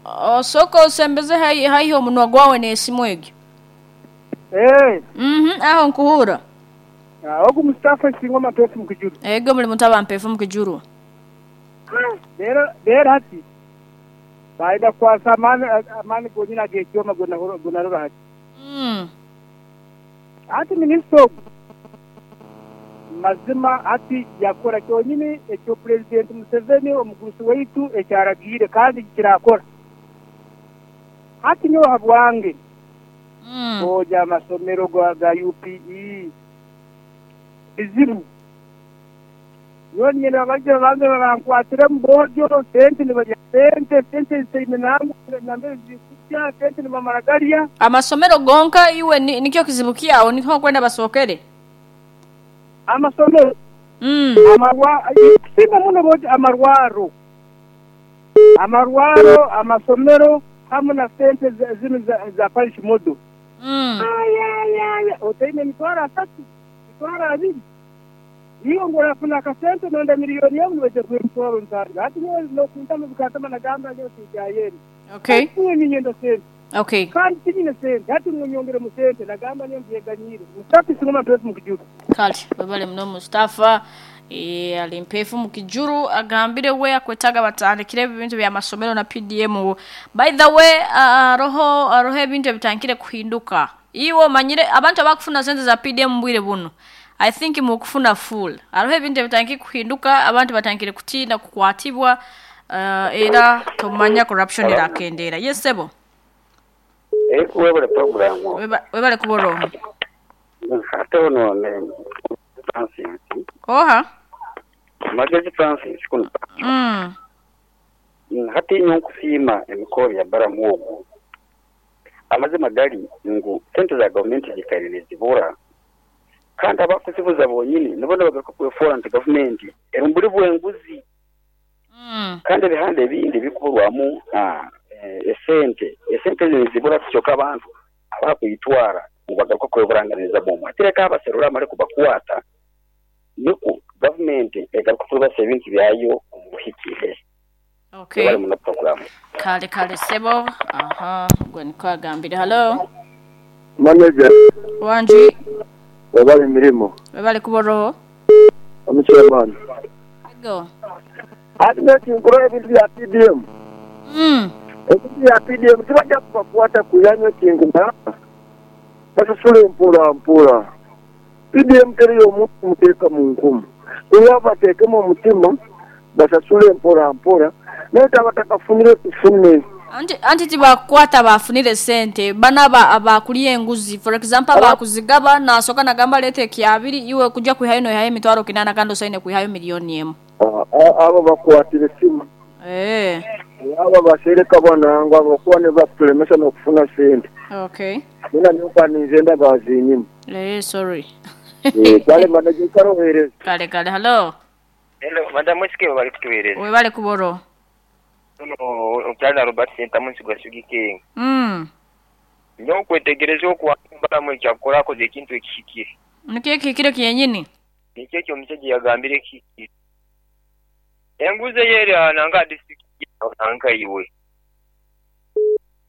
Osooka osembeze haihi omunwa gwawe n'esimu egyo. Aho nkuhurra. Ogu Mustafa Isingoma Mpeefu Mukijuru. Ego muli mutaba Mpeefu Mukijuru. Leero hati baayenda kukwasa amaani gonyini ag'ekyoma gonarora hati. Hati minisita ogu mazima hati yakora kyonyini ekyo Pulezidenti Museveni omugurusi waitu ekyaragiire kandi kirakora. Hati nyowe habwange oja amasomero ga UPE bizibu. Nyowe niinyenda baije babanze bankwatiremu boojo, sente nibarya sente, sente zitaine nambere zirikujya, sente nibamara garya. Amasomero gonka iwe nikyo kizibu kyawe niho okwenda basookere? Amasomero, kusinga muno boojo amarwaro. Amarwaro, amasomero hamu na sente zinu za parish model. Otaine 30,000, 20,000. Iwe ngu orafuna akasente nonda miliyoni emu nibaija kuha 50,000. Hati nyowe n'okuntama bikantama nagamba nyowe tinkyayenda. Nyowe niinyenda sente. Kandi tinyine sente. Hati munyongeremu sente nagamba nyowe mbyeganyiire. Mustafa Isingoma Mpeefu Mukijuru. Kale webale muno Mustafa. Ali Mpeefu Mukijuru agambire we akwetaaga batandikire ebintu by'amasomero na PDM. By the way, aroho ebintu ebitandikire kuhinduka. Iwe omanyire abantu abakufuna sente za PDM bwire buno. I think mukufuna full. Aroho ebintu ebitandikire kuhinduka, abantu batandikire kutiina kukwatibwa, era tomanya corruption erakendeera. Yes sebo. Webale program. Webale kuba oroho. Ate ono Francis. Oha? Magezi Francis kuno. Hati nyo nkusiima emikoro ya Balamu ogu. Amazima gali ngu sente za gavumenti zikaire nizibura. Kandi abakuzibuza bonyini nibo nibagaruka kwefoora nti gavumenti eri mburi bwenguzi. Kandi ebihanda ebindi bikuburwamu esente. Esente ezo nizibura kyonka abantu abakwitwara nibagaruka kweburanganiza bwomwe. Hati leka abaserura amare kubakwata nikwo gavumenti egaruka kurubasa ebintu byayo omu buhikire. Webale muno program. Kale kale sebo. Aha, gwe niko agambire. Hello. Manager. Wanji. Webale emirimo. Webale kuba oroho. Omuchairman. Ego. Hati nekinkura ebintu bya PDM. Ebintu bya PDM tibajja kubakwata kuyanywa ekintu basasule mpora mpora. PDM teriyo omuntu muteeka mu nkumu. Kuba bateekemu omutima basasule mpora mpora. Naye tabatakafunire tufune. Anti tibakwata bafunire sente bana abakuliye enguzi. For example abakuzigaba nasoka nagamba lete ekyabiri iwe kujja kwihayo noihayo 800,000 kandi osaine kwihayo 1,000,000. Abo bakwatire simu. Abo basereka banangwa abakuba ne bakutulemesa n'okufuna sente. Nina nyoka ninzenda bazinyima. Sorry. Kale manager karohereza. Kale kale hello. Hello madam Wesike bali kutuwereza. Webale kuboro. Omukyala Robert Sentamu nsigwa Sugar. Nyo okwetegereza okuwambalamu ekyakora akoze ekintu ekihikire. Nikyo ekihikire kyenyini? Nikyo ekyo omusajja yagambire ekihikire. Enguzi eyeri nanga disitulikiti nanka iwe.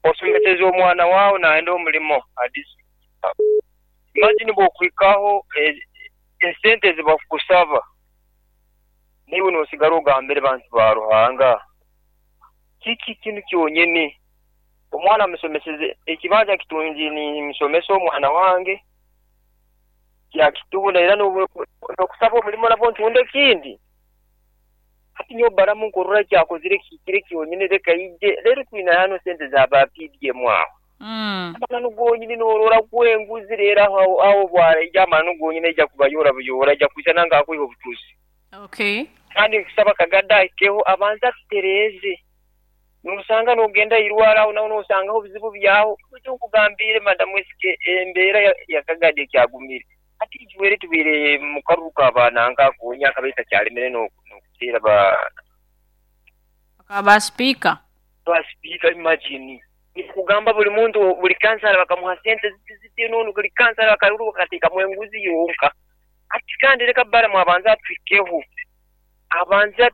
Osomeseza omwana waawe nayenda omulimo a disitulikiti. Imagine bw'okwikaho esente zibakusaba niiwe noosigara ogambire bantu ba Ruhanga. Kiki kinu kyonyini? Omwana amusomeseze ekibanja kitungi nimusomesa omwana wange kyakitunda era n'okusaba omulimo nabwo ntunda ekindi. Hati nyowe Balamu nkurora ekyakozire kihikire kyonyini leka ije leero twine hano sente za ba PDM aho. Amananu gonyini noorora kwenguzi leero aho bwaraija amananu gonyini aija kubayora buyora aija kwija nange akwiha obutuzi. Kandi nkusaba Kagada ahikeho abanze atutereeze. Nosanga nogenda irwara aho naho nosangaho obuzibu byaho. Nikyo nkugambire madam Wesike embeera ya Kagada ekyagumire. Hati ijuwere tubaire mu karuru ka akonya akabaire kakyalemere n'okuteera ba Ba speaker. Ba speaker imagine. Nikugamba buli muntu buli kansala bakamuha sente ziti noonu buli kansala akaruru bakateekamu enguzi yonka. Hati kandi leka Balamu abanze atuhikeho. Abanze.